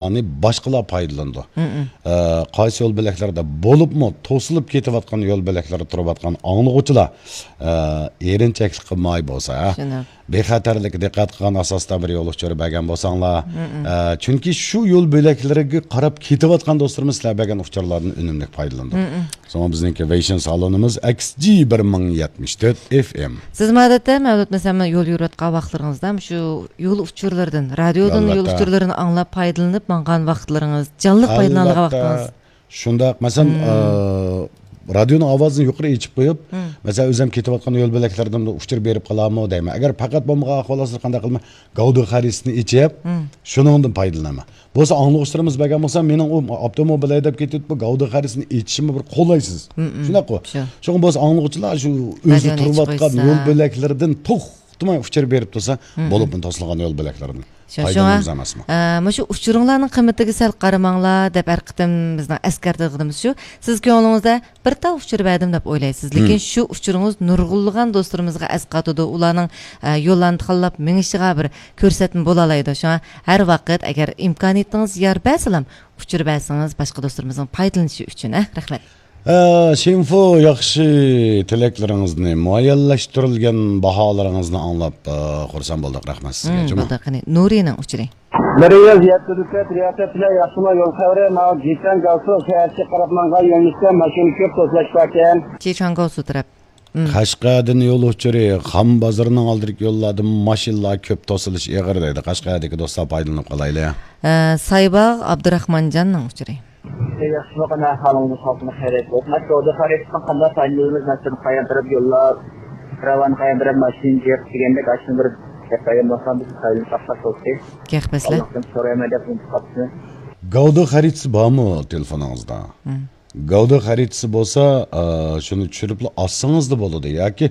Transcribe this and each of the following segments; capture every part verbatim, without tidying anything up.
باشقىلار پايدىلىنىدۇ. ئە، قايسى يول بۆلەكلەردە بولۇپمۇ توسۇلۇپ كېتىۋاتقان يول بۆلەكلەردە تۇرۇۋاتقان ئاڭلىغۇچىلار، ئە، ئېرىنچەكلىك قىلماي بولسا، ھە؟ بىخەتەرلىككە دىققەت قىلغان ئاساستا بىر يول ئۇچۇرى بەرگەن بولساڭلار. ئە، چۈنكى شۇ يول بۆلەكلىرىگە قاراپ كېتىۋاتقان دوستلىرىمىز سىلەر بەرگەن ئۇچۇرلاردىن ئۈنۈملۈك پايدىلىنىدۇ. شۇڭا بىزنىڭكى ۋېيشىن سالونىمىز ئەكس جى بىر مىڭ يەتمىش تۆت ئېف ئېم. سىزمۇ ئادەتتە مەۋلۇت مەسەلەن يول يۈرۈۋاتقان ۋاقىتلىرىڭىزدا شۇ يول ئۇچۇرلىرىدىن، رادىيودىن يول ئۇچۇرلىرىنى ئاڭلاپ پايدىلىنىپ ماڭغان ۋاقىتلىرىڭىز، جانلىق پايدىلىنىدىغان ۋاقتىڭىز. شۇنداق، مەسىلەن، ئە، رادىيونىڭ ئاۋازىنى يۇقىرى ئېچىپ قويۇپ، مەسىلەن، ئۆزۈم كېتىۋاتقان يول بۆلەكلىرىدىن ئۇچۇر بېرىپ قالامۇ دەيمەن. ئەگەر پەقەت بولمىغان ئەھۋال ئاستىدا قانداق قىلىمەن؟ گەۋدە خەرىتىسىنى ئېچىپ، شۇنىڭدىن پايدىلىنىمەن. بولسا ئاڭلىغۇچىلىرىمىز بەرگەن بولسا، مېنىڭ ئۇ ئاپتوموبىل ھەيدەپ كېتىۋېتىپ، بۇ گەۋدە خەرىتىسىنى ئېچىشىممۇ بىر قولايسىز. شۇنداققۇ؟ شۇڭا بولسا ئاڭلىغۇچىلار شۇ ئۆزى تۇرۇۋاتقان يول بۆلەكلىرىدىن توختىماي ئۇچۇر بېرىپ تۇرسا، بولۇپمۇ توسۇلغان يول بۆلەكلىرىدىن پايدىلىنىمىز ئەمەسمۇ؟ ئە، مۇشۇ ئۇچۇرۇڭلارنىڭ قىممىتىگە سەل قارىماڭلار دەپ ھەر قېتىم بىزنىڭ ئەسكەرتىدىغىنىمىز شۇ. سىز كۆڭلىڭىزدە بىر تال ئۇچۇر بەردىم دەپ ئويلايسىز، لېكىن شۇ ئۇچۇرىڭىز نۇرغۇنلىغان دوستلىرىمىزغا ئەسقاتىدۇ. ئۇلارنىڭ، ئە، يوللارنى تاللاپ مېڭىشىغا بىر كۆرسەتمە بولالايدۇ. شۇڭا ھەر ۋاقىت ئەگەر ئىمكانىيىتىڭىز يار بەرسىلام، ئۇچۇر بەرسىڭىز باشقا دوستلىرىمىزنىڭ پايدىلىنىشى ئۈچۈن. ھە، رەھمەت. ئە، شىنفۇ، ياخشى تىلەكلىرىڭىزنى، مۇئەييەنلەشتۈرۈلگەن باھالىرىڭىزنى ئاڭلاپ، ئە، خۇرسەن بولدۇق. رەھمەت سىزگە. جۇمۇ. بولدى، قېنى، نۇرىنىڭ ئۇچۇرى. مەركەز يەتتە دۇكەت رىياسەتچىلەر ياخشىما يول خەۋىرى، ماۋۇ جىچەن گاۋسۇ شەھەرچە قاراپ ماڭغان يۆنىلىشتە ماشىنا كۆپ توسۇلۇش باركەن. جىچەن گاۋسۇ تەرەپ. قەشقەردىن يول ئۇچۇرى، خان بازىرىنىڭ ئالدىدىكى يوللاردىمۇ ماشىنىلار كۆپ، توسۇلۇش ئېغىر دەيدۇ. قەشقەردىكى دوستلار پايدىلىنىپ قالايلى. ئە، سايباغ ئابدۇراخمانجاننىڭ ئۇچۇرى. ياخشىمۇ، قېنى، ئەھۋالىڭىز، خەلقىمىز خەيرىيەت بولسۇن. ئاشۇ خەرىتىدىن قانداق پايدىلىنىمىز؟ مەسىلەن، قايان تەرەپ يوللار، راۋان قايان تەرەپ ماشىنا جىق دېگەندەك، ئاشۇنى بىر گەپ قىلغان بولسام، بىز پايدىلىنىپ باقساق بولدى. گەپ بەسلە. ئاللاھتىن سورايمەن دەپ ئۇنتۇپ قاپسىز. گەۋدە خەرىتىسى بارمۇ تېلېفونىڭىزدا؟ گەۋدە خەرىتىسى بولسا، ئە، شۇنى چۈشۈرۈپلا ئالسىڭىزلا بولىدۇ. ياكى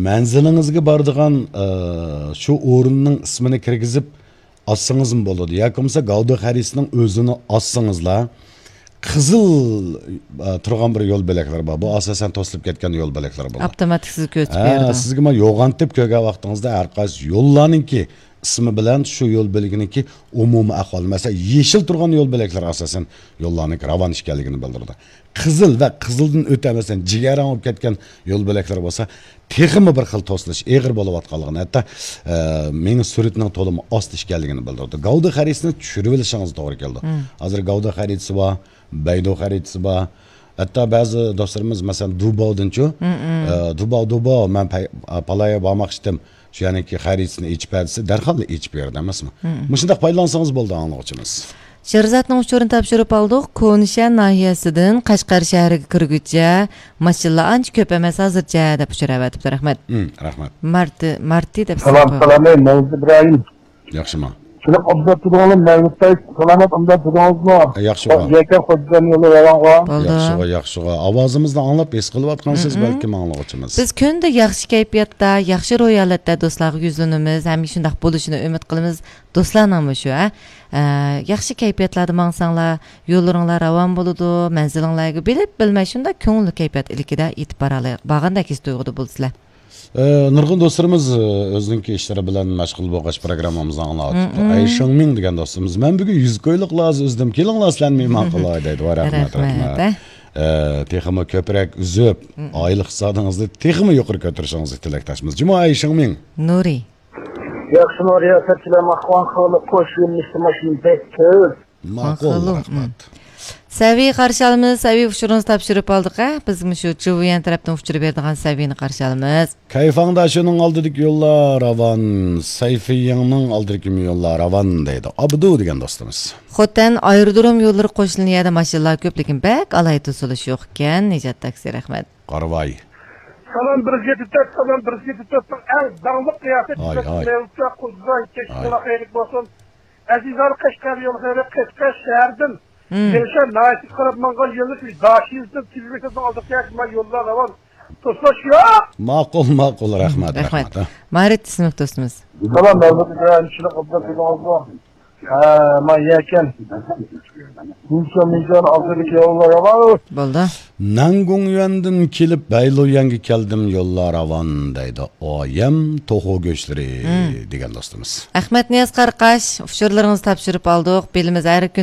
مەنزىلىڭىزگە بارىدىغان، ئە، شۇ ئورۇننىڭ ئىسمىنى كىرگۈزۈپ ئالسىڭىزمۇ بولىدۇ. ياكى بولمىسا گەۋدە خەرىتىسىنىڭ ئۆزىنى ئالسىڭىزلا، قىزىل، ئە، تۇرغان بىر يول بۆلەكلەر بار. بۇ ئاساسەن توسۇلۇپ كەتكەن يول بۆلەكلىرى بولىدۇ. ئاپتوماتىك سىزگە كۆرسىتىپ ھە، بېرىدۇ. سىزگە مانا يوغانتىپ كۆرگەن ۋاقتىڭىزدا ھەر قايسى يوللارنىڭكى ئىسمى بىلەن شۇ يول بۆلىكىنىڭكى ئومۇمىي ئەھۋالى. مەسىلەن، يېشىل تۇرغان يول بۆلەكلىرى ئاساسەن يوللارنىڭكى راۋان ئىكەنلىكىنى بىلدۈرىدۇ. قىزىل ۋە قىزىلدىن ئۆتە، مەسىلەن، جىگەرەڭ بولۇپ كەتكەن يول بۆلەكلىرى بولسا، تېخىمۇ بىر خىل توسۇلۇش ئېغىر بولۇۋاتقانلىقىنى، ھەتتا، ئە، مېڭە سۈرئىتىنىڭ تولىمۇ ئاستا ئىكەنلىكىنى بىلدۈرىدۇ. گەۋدە خەرىتىسىنى چۈشۈرۈۋېلىشىڭىز توغرا كېلىدۇ. ھازىر گەۋدە خەرىتىسى بار، بەيدۇ خەرىتىسى بار. ھەتتا بەزى دوستلىرىمىز، مەسىلەن، دۇباۋدىنچۇ، ئە، دۇباۋ، دۇباۋ، مەن پەي-، ئە، پالايا بارماقچىدىم. شۇ يەرنىڭكى خەرىتىسىنى ئېچىپ بەر دېسە، دەرھاللا ئېچىپ بېرىدۇ ئەمەسمۇ؟ مۇشۇنداق پايدىلانسىڭىز بولدى، ئاڭلىغۇچىمىز. شېرزادنىڭ ئۇچۇرىنى تاپشۇرۇپ ئالدۇق. كونىشەھەر ناھىيەسىدىن قەشقەر شەھىرىگە كىرگۈچە ماشىنىلار ئانچە كۆپ ئەمەس ھازىرچە دەپ ئۇچۇر ئەۋەتىپتۇ. رەھمەت. مم، رەھمەت. مارتى، مارتى دەپ سالام، سالام، ئەي، مەۋلۇت ئىبراھىم. ياخشىما؟ شۇنداق ئوبزور تۇردۇڭلار، مەۋلۇت بەگ، سالامەت، ئوبزور تۇردىڭىزمۇ؟ ياخشىغۇ. يەكەن خوجىدىن يولى راۋانغۇ. بولدى. ياخشىغۇ، ياخشىغۇ. ئاۋازىمىزنى ئاڭلاپ ھېس قىلىۋاتقانسىز بەلكىم ئاڭلىغۇچىمىز. بىز كۈندە ياخشى كەيپىياتتا، ياخشى روھىي ھالەتتە دوستلارغا يۈزلىنىمىز. ھەم شۇنداق بولۇشىنى ئۈمىد قىلىمىز. دوستلارنىڭمۇ شۇ، ھە؟ ئە، ياخشى كەيپىياتلاردا ماڭساڭلار، يوللىرىڭلار راۋان بولىدۇ، مەنزىلىڭلارغا بىلىپ بىلمەي شۇنداق كۆڭۈللۈك كەيپىيات ئىلكىدە يېتىپ بارالاي-، بارغاندەك ھېس تۇيغۇدا بولىسىلەر. ئە، نۇرغۇن دوستلىرىمىز، ئە، ئۆزىنىڭكى ئىشلىرى بىلەن مەشغۇل بولغاچ پروگراممىمىزنى ئاڭلاۋاتىپتۇ. ئەي شېڭمىڭ دېگەن دوستىمىز، مەن بۈگۈن يۈز كويلۇقلار ئۈزدۈم، كېلىڭلار سىلەرنى مېھمان قىلاي دەيدۇ. ۋاي، رەھمەت، رەھمەت. ئە، تېخىمۇ كۆپرەك ئۈزۈپ، ئائىلە ئىقتىسادىڭىزنى تېخىمۇ يۇقىرى كۆتۈرۈشىڭىزگە تىلەكداشمىز. جۇمۇ ئەي شېڭمىڭ. نۇرى. ياخشىمۇ رىياسەتچىلەر، ماقۇل خەلق، قوش يۆنىلىشتە ماشىنا بەك كۆپ. ماقۇل، ماقۇل، رەھمەت. سەۋىيە قارشى ئالىمىز، سەۋىيە ئۇچۇرىڭىزنى تاپشۇرۇپ ئالدۇق، ھە؟ بىزمۇ شۇ جۇۋيەن تەرەپتىن ئۇچۇر بېرىدىغان سەۋىيەنى قارشى ئالىمىز. كەيفاڭدا شۇنىڭ ئالدىدىكى يوللار راۋان، سەيفىيىڭنىڭ ئالدىدىكى يوللار راۋان دەيدۇ. ئابدۇ دېگەن دوستىمىز. خوتەن ئايرودروم يوللىرى قوش لىنىيەدە ماشىنىلار كۆپ، لېكىن بەك ئالاھىدە توسۇلۇش يوق ئىكەن. نىجات تاكسى، رەھمەت. قارىۋاي. سالام بىر يۈز يەتتە تۆت، سالام بىر يۈز يەتتە تۆتنىڭ ئەڭ داڭلىق رىياسەتچىسى مەۋلۇتكە قۇزغۇن كەچ خەيرلىك بولسۇن. ئەزىزلەر قەشقەر يول خەيرى قەشقەر شەھەردىن يەنشەر ناھىيەسىگە قاراپ ماڭغان يۆنىلىش داشىزدىن تېلېۋىزورنىڭ ئالدىغا كەلسە مانا يوللار راۋان. توسۇلۇش يوق. ماقۇل، ماقۇل، رەھمەت، رەھمەت. مارىت ئىسىملىك دوستىمىز. سالام، مەۋلۇت ئىبراھىم، چىلىق ئابدۇل تۇردىڭىزمۇ؟ ھە، ما يەكەن. مۇنچە، مۇنچە ئالدىدىكى يوللار راۋان. بولدى. نەنگۇڭيۈەندىن كېلىپ بەيلۇيەنگە كەلدىم، يوللار راۋان دەيدۇ. ئايەم توخۇ گۆشلىرى دېگەن دوستىمىز. ئەخمەت نىياز قاراقاش، ئۇچۇرلىرىڭىزنى تاپشۇرۇپ ئالدۇق. بىلىمىز ھەر كۈنى